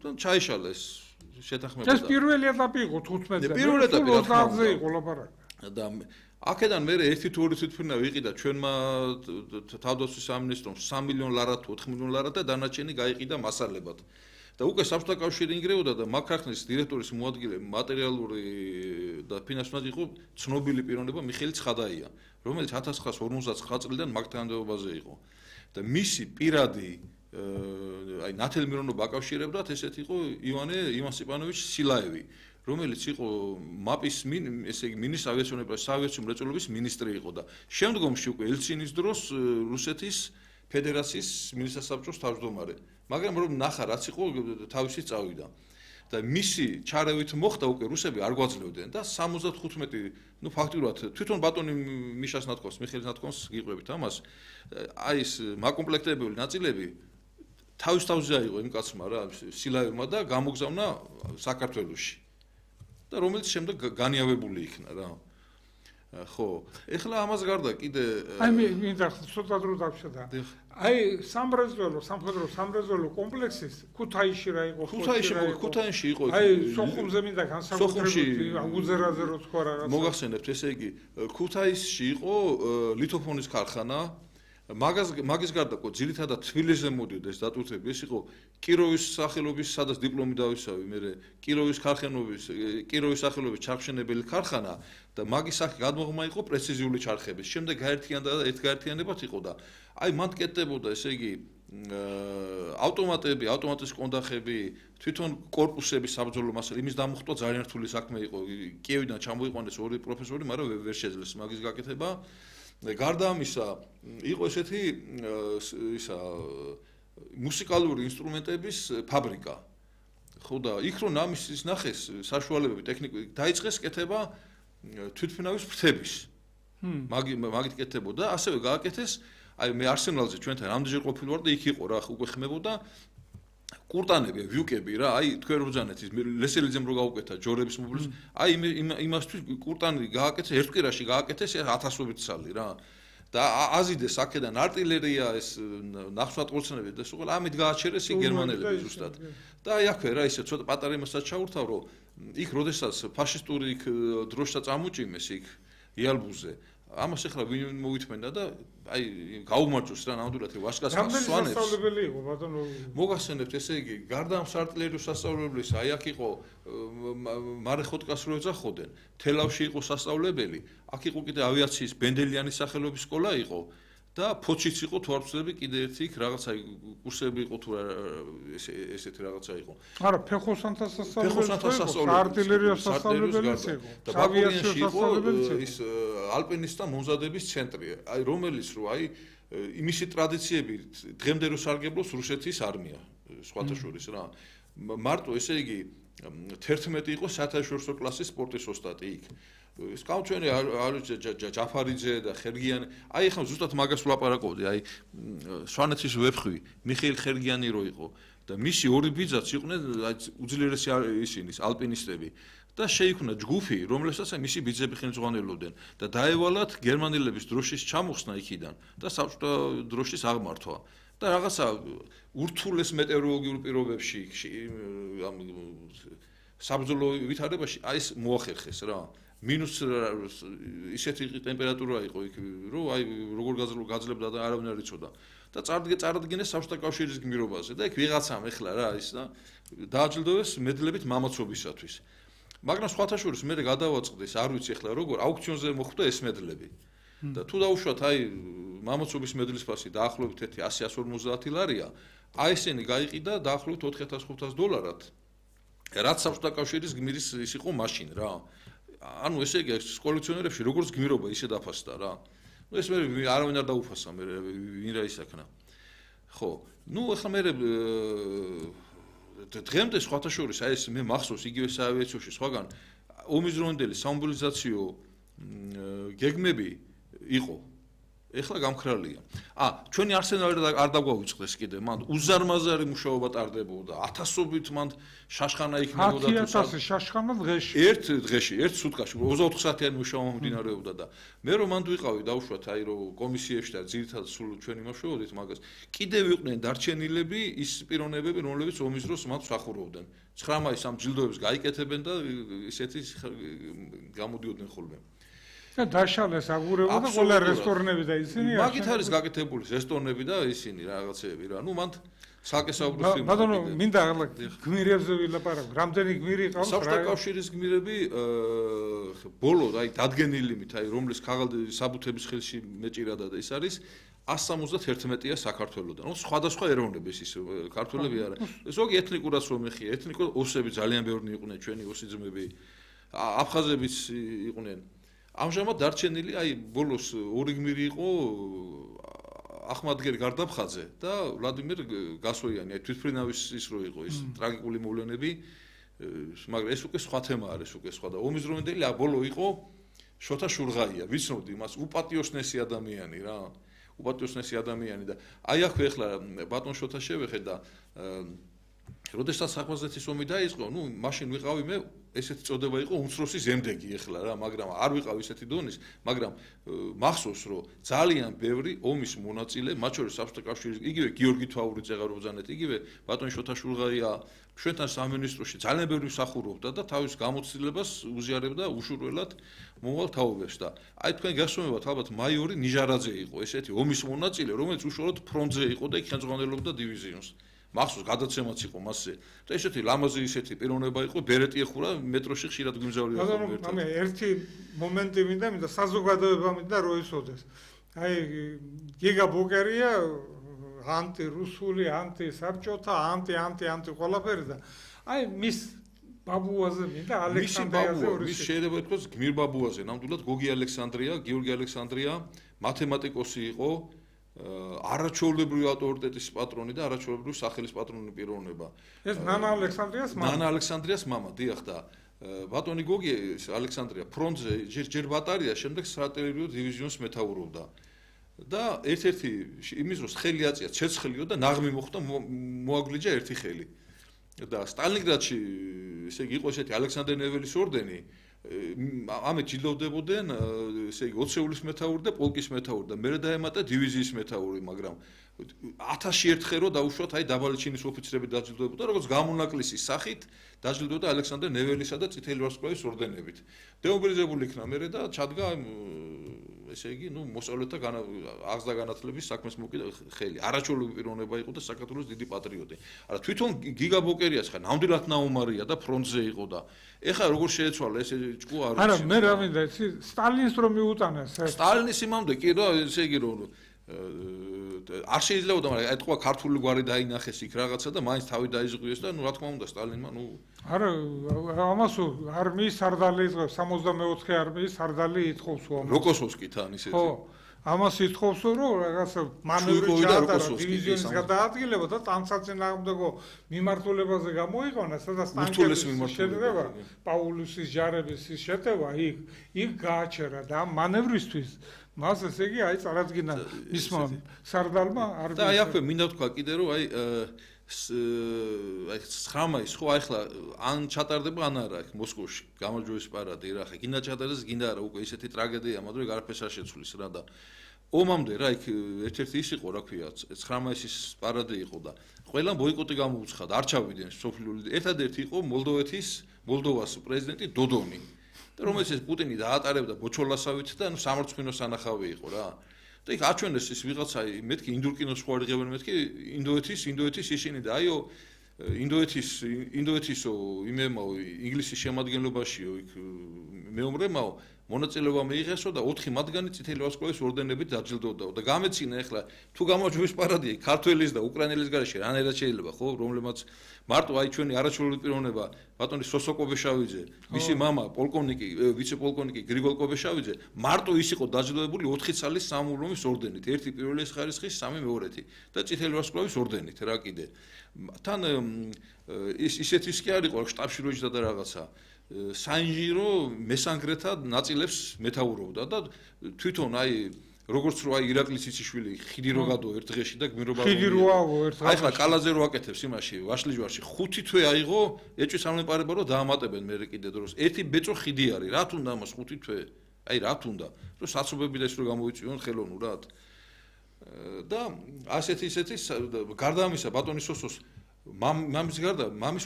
და ჩაიშალა ეს შეთანხმება. ეს პირველი ეტაპი იყო 15-ზე. პირველი ეტაპი რა თქმა უნდა. იყო ლაპარაკი. და აქედან მე ერთი თუ ორი თვითმფრინა ვიყიდა ჩვენმა თავდაცვის სამინისტრომ 3 მილიონ ლარად თუ 4 მილიონ ლარად და დანარჩენი გაიყიდა მასალებად. და უკვე საბჭოთა კავშირი ინგრეოდა და მაგ ქარხნის დირექტორის მოადგილე მატერიალური და ფინანსურად იყო ცნობილი პიროვნება მიხეილ ცხადაია, რომელიც 1959 წლიდან მაგ თანამდებობაზე იყო. და მისი პირადი აი ნათელი მირონობა აკავშირებდათ ესეთ იყო ივან სტეპანოვიჩ სილაევი, რომელიც იყო მაპის ესე იგი მინისტრ ავიაციული მრეწველობის მინისტრი იყო და შემდგომში უკვე ელცინის დროს რუსეთის ფედერაციის მინისტრსაბჭოს თავმჯდომარე. მაგრამ რომ ნახა რაც იყო თავისი წავიდა. და მისი ჩარევით მოხდა უკვე რუსები არ გვაძლევდნენ და 75 ნუ ფაქტურად თვითონ ბატონი მიშას ნათქვამს, მიხეილ ნათქვამს გიყვებით ამას. აი ეს მაკომპლექტებელი ნაწილები თავის თავზე აიღო იმ კაცმა რა, სილაევმა და გამოგზავნა საქართველოში. და რომელიც შემდეგ განიავებული იქნა რა. ხო, ეხლა ამას გარდა კიდე აი მინდა ცოტა დრო დავშედა. აი სამხედრო სამრეწველო კომპლექსის ქუთაისში რა იყო? ქუთაისში იყო. აი სოხუმზე მინდა განსაკუთრებით უძერაზე რო თქვა რა. მოგახსენებთ, ესე იგი ქუთაისში იყო ლითოფონის ქარხანა. მაგის გარდა ყო ძირითადად თბილისზე მოდიოდა ეს დატვირთები, ეს იყო კიროვის სახელობის, სადაც დიპლომი დავისავი, მე კიროვის სახელობის ჩარხშენებელი ქარხანა და მაგის სახე გადმოღმა იყო პრეციზიული ჩარხების. შემდეგ გაერთიანებად იყო და აი მან კეთდებოდა, ესე იგი ავტომატები, ავტომატის კონდახები, თვითონ კორპუსების საბრძოლო მასალა, იმის დამუხტვა ძალიან რთული საქმე იყო. კიევიდან ჩამოიყვანეს ორი პროფესორი, მაგრამ ვერ შეძლეს მაგის გაკეთება. გარდა ამისა იყო ესეთი მუსიკალური ინსტრუმენტების ფაბრიკა. ხო და იქ რომ ამის ნახეს საშუალებები ტექნიკური დაიწყეს კეთება თვითმფრინავის ფრთების. მაგით კეთდებოდა, ასევე გააკეთეს აი მე არსენალზე ჩვენთან რამდენჯერ ყოფილი ვარ და იქ იყო რა უკვე ხმებოდა კურტანები, ვიუკები რა, აი თქვენ რო ბრძანეთ ის ლესელიძემ რო გაუკეთა ჯორების მობილს, აი იმასთვის კურტანი გააკეთეს ერთ კვირაში გააკეთეს 1000-ობით ცალი რა. და აზიდეს აქედან артиლერია ეს ნახსვატყორცნები და სულ ამით გააჩერეს იქ გერმანელები ზუსტად. და აი აქვე რა ისე ცოტა პატარა იმასაც ჩაურთავ რომ იქ როდესაც ფაშისტური იქ დროშა წამოჭიმეს იქ იალბუზე ამას ახლა ვინ მოვითმენდა და აი გაუმარჯოს რა ნამდვილად ვაშკას სვანებს. რამდენი სასწავლებელი იყო ბატონო? მოგახსენებთ ესე იგი გარდა ამ საარტილერიო სასწავლებლის აი აქ იყო მარეხოტკას რო ეძახოდნენ, თელავში იყო სასწავლებელი, აქ იყო კიდე ავიაციის ბენდელიანის სახელობის სკოლა იყო და ფოჩიც იყო თუ არ ვცდები კიდე ერთი იქ რაღაცა კურსები იყო თუ ესეთი რაღაცა იყო. არა, ფეხოსანთა სასწავლებელი, არტილერიო სასწავლებელიც იყო. და ბაკურიანში იყო ის ალპინისტთა მომზადების ცენტრი, აი რომელიც რო აი იმისი ტრადიციები დღემდე რო სარგებლობს რუსეთის არმია, სხვათა შორის რა. მარტო ესე იგი 11 იყო საერთაშორისო კლასის სპორტის ოსტატი იქ. სკაუჩენი ჯაფარიძე და ხერგიანი, აი ახლა ზუსტად მაგას ვლაპარაკობდი, აი სვანეთის ვეფხვი, მიხეილ ხერგიანი რო იყო და მისი ორი ბიძაც იყვნენ აი უძლიერესი ისინი ალპინისტები და შეიქმნა ჯგუფი, რომელსაც აი მისი ბიძები ხელმძღვანელობდნენ და დაევალათ გერმანელების დროშის ჩამოხსნა იქიდან და საბჭოთა დროშის აღმართვა. და რაღაცა ურთულეს მეტეოროლოგიურ პირობებში ამ საბრძოლო ვითარებაში აი ეს მოახერხეს რა. მინუს ისეთი ტემპერატურა იყო იქ, რომ აი როგორ გაძლებდა და არავინ არ იცოდა. და წარადგინეს საბჭოთა კავშირის გმირობაზე და იქ ვიღაცამ ეხლა რა ის და დააჯილდოვეს მედლებით მამაცობისათვის. მაგრამ სხვათა შორის მე გადავაწყდეს, არ ვიცი ეხლა როგორ აუქციონზე მოხვდა ეს მედლები. და თუ დავუშვათ აი მამაცობის მედლის ფასი დაახლოებით 100-150 ლარია, აი ესენი გაიყიდა დაახლოებით $4500 რაც საბჭოთა კავშირის გმირის ის იყო მაშინ რა. ანუ ესე იგი კოლექციონერებში როგორც გმირობა ისე დაფასდა რა. ნუ ეს მე არავინ არ დაუფასა მე ვინ რა ისაქნა. ხო, ნუ ახლა მე დღემდე სხვათა შორის აი ეს მე მახსოვს იგივე საავიაციოში სხვაგან ომის დროინდელი სამობილიზაციო გეგმები იყო ეხლა გამქრალია. ჩვენი არსენალი არ დაგვაუწყდეს კიდე, მან უზარმაზარი მუშაობა ტარდებოდა, ათასობით მან შაშხანა იქნებოდა 10,000 შაშხანა დღეში. ერთ დღეში, ერთ სუტყაში 24 საათიანი მუშაობა მიმდინარეობდა და მე რომ მანდ ვიყავი დავუშვათ აი რომ კომისიებში და ძირითადად სულ ჩვენი მუშაობდით მაგას. კიდევ იყვნენ დარჩენილები ის პიროვნებები, რომლებიც ომის დროს მათ მსახურობდნენ. 9 მაისს ამ ჯილდოებს გაიკეთებენ და ისეთი გამოდიოდნენ ხოლმე. და დაშალეს აგურება და ყველა რესტორნები და ისინი მაგით არის გაკეთებული რესტორნები და ისინი რაღაცეები რა. მან საკესაუბროს იმ ბატონო მინდა ახლა გმირებზე ვილაპარაკო. რამდენი გმირი ყავს რა? საბჭოთა კავშირის გმირები ბოლო აი დადგენილიმით აი რომლის საბუთების ხელში მეჭირადა და ის არის 171-ია საქართველოსდან. სხვადასხვა ეროვნების ის ქართველები არა. ზოგი ეთნიკურად რომ ეხია, ეთნიკურად ოსები ძალიან ბევრი იყვნენ ჩვენი ოსი ძმები. აფხაზებიც იყვნენ. ამჟამად დარჩენილი აი ბოლოს ორი გმირი იყო ახმადგერ გარდაფხაძე და ვლადიმერ გასოიანი აი თვითფრინავის ის რო იყო ის ტრაგიკული მოვლენები მაგრამ ეს უკვე სხვა თემა არის უკვე სხვა და ომის დროინდელი ბოლო იყო შოთა შურღაია ვიცნობდი მას უპატიოსნესი ადამიანი რა უპატიოსნესი ადამიანი და აი აქვე ახლა ბატონ შოთა შევეხე და როდესაც საფრანგეთის ომი დაიწყო ნუ მაშინ ვიყავი მე ესეთი წოდება იყო უმცროსი ზემდეგი ახლა რა მაგრამ არ ვიყავ ისეთი დონის მაგრამ მახსოვს რომ ძალიან ბევრი ომის მონაწილე მათ შორის საბჭოთა კავშირის იგივე გიორგი თვაური წეღარობძანეთ იგივე ბატონ შოთა შურღაია ჩვენთან სამინისტროში ძალიან ბევრი მსახურობდა და თავის გამოცდილებას უზიარებდა უშურველად მომავალ თაობებს და აი თქვენ გასვენებათ ალბათ მაიორი ნიჟარაძე იყო ესეთი ომის მონაწილე რომელიც უშუალოდ ფრონტზე იყო და იქ ხელმძღვანელობდა დივიზიონს მახსოვს გადაცემაც იყო მასზე და ესეთი ლამაზი ისეთი პიროვნება იყო ბერეტი ეხურა მეტროში ხშირად გვიმგზავრია ხოლმე მე ერთი მომენტი მინდა საზოგადოება მინდა რო ისოდეს აი გიგა ბუკერია ანტირუსული ანტისაბჭოთა ანტი ყველაფერი და აი მის ბაბუაზე მინდა ალექსანდრიაზე მის შეიძლება ითქვას გმირ ბაბუაზე ნამდვილად გოგი ალექსანდრია გიორგი ალექსანდრია მათემატიკოსი იყო არაჩვეულებრივი ავტორიტეტის პატრონი და არაჩვეულებრივი სახელის პატრონი პიროვნება. ეს ნანა ალექსანდრიას მამა. ნანა ალექსანდრიას მამა, დიახ და ბატონი გოგი ალექსანდრია ფრონტზე ჯერ ბატარია, შემდეგ სტრატეგიულ დივიზიონს მეთაურობდა. და ერთ-ერთი იმის დროს ხელი აწია ცეცხლიო და ნაღმი მოხდა მოაგლიჯა ერთი ხელი. და სტალინგრადში ესე იგი იყო ესეთი ალექსანდრე ნეველის ორდენი ამით ჯილდოვდებოდნენ ესე იგი 20 ეულის მეთაური და პოლკის მეთაური და მერე დაემატა დივიზიის მეთაური მაგრამ 1000 ერთხელ რო დაუშვათ აი დაბალი ჩინის ოფიცრები დაჯილდოვებოდა როგორც გამონაკლისის სახით დაჯილდოვდა ალექსანდრე ნეველისა და წითელი ვარსკვლავის ორდენებით დემობილიზებული იქნა მერე და ჩადგა ესე იგი ნუ მოსწავლეთა აღზრდა განათლების საქმეს მოკიდა ხელი არაჩვეულებრივი პიროვნება იყო და საქართველოს დიდი პატრიოტი არა თვითონ გიგა ბოკერიას ხა ნამდვილად ნაუმარია და ფრონტზე იყო და ეხლა როგორ შეეცვალა ეს ჭკუ არ არა მე რა მინდა იცი სტალინს რომ მიუტანეს სტალინის იმამდე კი რა ესე იგი რომ არ შეიძლება და მაგრამ ეთქვა ქართული გვარი დაინახეს იქ რაღაცა და მაინც თავი დაიზღვიეს და ნუ რა თქმა უნდა სტალინმა ნუ არა ამას არმიის სარდალი იწევს 64 არმიის სარდალი ითხოვს როკოსოვსკი თან ისეთი ხო ამას ითხოვს რომ რაღაცა მანევრი ჩაატარა დივიზიონის გადაადგილება და ტანსაწინააღმდეგო მიმართულებაზე გამოიყენა სადაც ტანკების შედგება პაულუსის ჯარების შეტევა იქ გააჩერა და ამ მანევრისთვის მას ესე იგი აი წარადგინა მისმა სარდალმა არ და აი აქვე მინდა თქვა კიდე რომ აი 9 მაისს ხო აი ხლა ან ჩატარდება ან არა იქ მოსკოვში გამარჯვების პარადი რა ხა გინდა ჩატარდეს გინდა არა უკვე ისეთი ტრაგედია მაგრამ ეგ არაფერს არ შეცვლის რა და ომამდე რა იქ ერთ-ერთი ის იყო რა ქვია 9 მაისის პარადი იყო და ყველამ ბოიკოტი გამოუცხადა არ ჩავიდნენ სოფლული ერთადერთი იყო მოლდოვას პრეზიდენტი დოდონი და რომელსაც პუტინი დაატარებდა ბოჩოლასავით და ნუ სამარცხვინო სანახავი იყო რა და იქ აჩვენეს ის ვიღაცა მეთქი ინდურკინოს ხო არიღებენ მეთქი ინდოეთის ისინი და აიო ინდოეთისო იმემაო ინგლისის შემადგენლობაშიო იქ მეომრემაო მონაწილეობა მიიღესო და 4 მათგანი წითელი ვარსკვლავის ორდენებით დაჯილდოვდაო და გამეცინა ახლა თუ გამარჯვების პარადია ქართველის და უკრაინელის გარეშე რანაირად შეიძლება ხო რომლებმაც მარტო აი ჩვენი არაჩვეულებრივი პიროვნება ბატონი სოსო კობეშავიძე მისი მამა პოლკოვნიკი ვიცე-პოლკოვნიკი გრიგოლ კობეშავიძე მარტო ის იყო დაჯილდოვებული 4 წლის სამურლომის ორდენით ერთი პირველი ხარისხის სამი მეორეთი და წითელი ვარსკვლავის ორდენით რა კიდე თან ისეთის კი არ იყო შტაბში რო იჯდა და რაღაცა საინჟინრო მესანგრეთა ნაწილებს მეთაურობდა და თვითონ აი როგორც რო აი ირაკლის ციციშვილი ხიდი რო გადო ერთ დღეში და გმირობა ხიდი რო ავო ერთ დღეში. აი ხლა კალაზე რო აკეთებს იმაში ვაშლიჯვარში 5 თვე აიღო ეჭვის ამლეპარება რო დაამატებენ მე კიდე დროს. ერთი ბეწო ხიდი არის. რა თუნდა ამას 5 თვე? აი რა თუნდა? რომ საცობები და ის რო გამოიწვიონ ხელოვნურად. და ასეთი გარდა ამისა ბატონის სოსოს მამის გარდა მამის